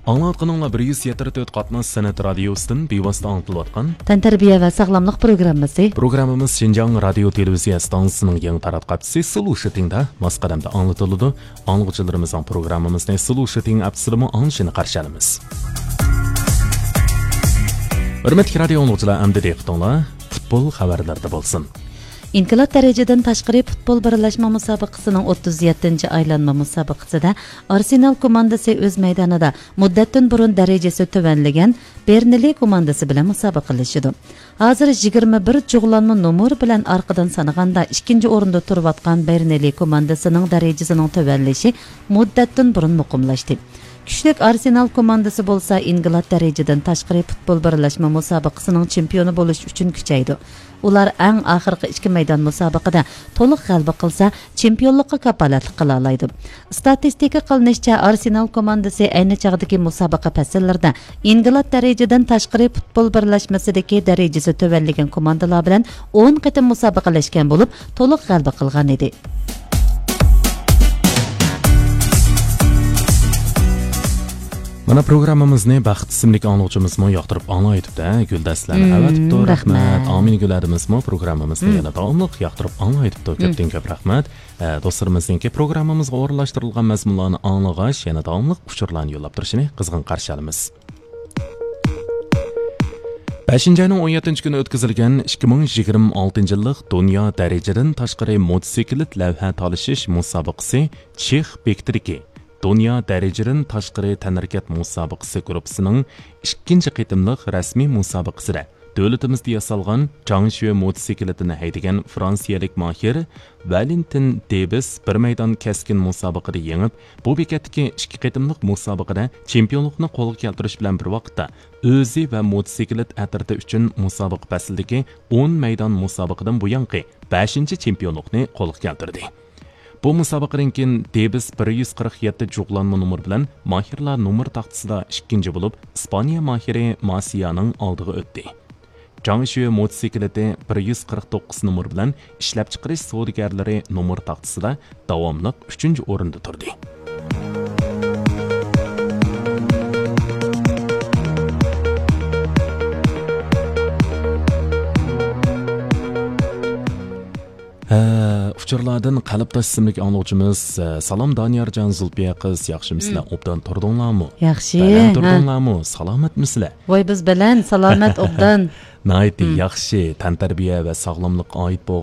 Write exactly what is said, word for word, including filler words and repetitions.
ئاڭلاۋاتقىنىڭلار بىر يۈز يەتتە تۆت قاتناش سەنئەت رادىيوسىدىن بىۋاسىتە ئاڭلىتىلىۋاتقان تەنتەربىيە ۋە ساغلاملىق پروگراممىسى. پروگراممىمىز شىنجاڭ رادىيو تېلېۋىزىيە ئىستانسىسىنىڭ يېڭى تاراتقۇ ئاپچىسى سلۇشىتىڭدا ماس قەدەمدە ئاڭلىتىلىدۇ. ئاڭلىغۇچىلىرىمىزنىڭ پروگراممىمىزنى سلۇشىتىڭ ئاپچىسىدىمۇ ئاڭلىشىنى قارشى ئالىمىز. ھۆرمەتلىك رادىيو ئاڭلىغۇچىلار، ئەمدى دىققىتىڭلار پۇتبول خەۋەرلىرىدە بولسۇن. ئىنقىلاب دەرىجىدىن تاشقىرى پۇتبول بىرلەشمە مۇسابىقىسىنىڭ ئوتتۇز يەتتىنچى ئايلانما مۇسابىقىسىدە ئارسېنال كوماندىسى ئۆز مەيدانىدا مۇددەتتىن بۇرۇن دەرىجىسى تۆۋەنلىگەن بېرنلى كوماندىسى بىلەن مۇسابىقىلىشىدۇ. ھازىر يىگىرمە بىر جۇغلانما نومۇر بىلەن ئارقىدىن سانىغاندا ئىككىنچى ئورۇندا تۇرۇۋاتقان بېرنلى كوماندىسىنىڭ دەرىجىسىنىڭ تۆۋەنلىشى مۇددەتتىن بۇرۇن مۇقىملاشتى. كۈچلۈك ئارسېنال كوماندىسى بولسا ئىنقىلاب دەرىجىدىن تاشقىرى پۇتبول بىرلەشمە مۇسابىقىسىنىڭ چېمپىيونى بولۇش ئۈچۈن كۈچەيدۇ. ئۇلار ئەڭ ئاخىرقى ئىككى مەيدان مۇسابىقىدە تولۇق غەلىبە قىلسا، چېمپىيونلۇققا كاپالەتلىك قىلالايدۇ. ئىستاتىستىكا قىلىنىشىچە، ئارسېنال كوماندىسى ئەينى چاغدىكى مۇسابىقە پەسىللىرىدە ئىنقىلاب دەرىجىدىن تاشقىرى پۇتبول بىرلەشمىسىدىكى دەرىجىسى تۆۋەنلىگەن كوماندىلار بىلەن ئون قېتىم مۇسابىقىلەشكەن بولۇپ، تولۇق غەلىبە قىلغان ئىدى. مانا، پروگراممىمىزنى بەخت ئىسىملىك ئاڭلىغۇچىمىزمۇ ياقتۇرۇپ ئاڭلايتىپتۇ، ھە، گۈلدەستىلەرنى مم، ئەۋەتىپتۇ. رەھمەت. رەھمەت. ئامىنگۈل ھەدىمىزمۇ پروگراممىمىزنى مم. يەنە داۋاملىق ياقتۇرۇپ ئاڭلايتىپتۇ. مم. كۆپتىن كۆپ رەھمەت. ئە، دوستلىرىمىزنىڭكى پروگراممىمىزغا ئورۇنلاشتۇرۇلغان مەزمۇنلارنى ئاڭلىغاچ، يەنە داۋاملىق ئۇچۇرلارنى يوللاپ تۇرۇشىنى قىزغىن قارشى ئالىمىز. بەشىنچى ئاينىڭ ئون يەتتىنچى كۈنى ئۆتكۈزۈلگەن ئىككى مىڭ يىگىرمە ئالتىنچى يىللىق دۇنيا دەرىجىدىن تاشقىرى موتوسىكلىت لەۋھە تالىشىش مۇسابىقىسى چېخ بېكىتىدىكى دۇنيا دەرىجىدىن تاشقىرى تەنھەرىكەت مۇسابىقىسى گۇرۇپپىسىنىڭ ئىككىنچى قېتىملىق رەسمىي مۇسابىقىسىدە دۆلىتىمىزدە ياسالغان جاڭشۈ موتوسىكلىتىنى ھەيدىگەن فرانسىيەلىك ماھىر ۋالېنتىن دېبىس بىر مەيدان كەسكىن مۇسابىقىدە يېڭىپ، بۇ بېكەتتىكى ئىككى قېتىملىق مۇسابىقىدە چېمپىيونلۇقنى قولغا كەلتۈرۈش بىلەن بىر ۋاقىتتا، ئۆزى ۋە موتوسىكلىت ئەترىتى ئۈچۈن مۇسابىقە پەسلىدىكى ئون مەيدان مۇسابىقىدىن بۇيانقى بەشىنچى چېمپىيونلۇقنى قولغا كەلتۈردى. بۇ مۇسابىقىدىن كېيىن دېبىس بىر يۈز قىرىق يەتتە جۇغلانما نومۇر بىلەن ماھىرلار نومۇر تاختىسىدا ئىككىنچى بولۇپ، ئىسپانىيە ماھىرى ماسىيانىڭ ئالدىغا ئۆتتى. جاڭشۈ موتوسىكلىتى بىر يۈز قىرىق توققۇز نومۇر بىلەن ئىشلەپچىقىرىش سودىگەرلىرى نومۇر تاختىسىدا داۋاملىق ئۈچىنچى ئورۇندا تۇردى. ھە، ئۇچۇرلاردىن قەلبداش ئىسىملىك ئاڭلىغۇچىمىز، ئە، سالام دانىيارجان، زۇلپىيە قىز، ياخشىمۇسىلەر؟ مم. ئوبدان تۇردۇڭلارمۇ؟ ياخشى، بەلەن ھە. تۇردۇڭلارمۇ؟ سالامەتمىسىلەر؟ ۋاي، بىز بەلەن، سالامەت، ئوبدان. ناھايىتى مم. ياخشى، تەنتەربىيە ۋە ساغلاملىققا ئائىت بولغان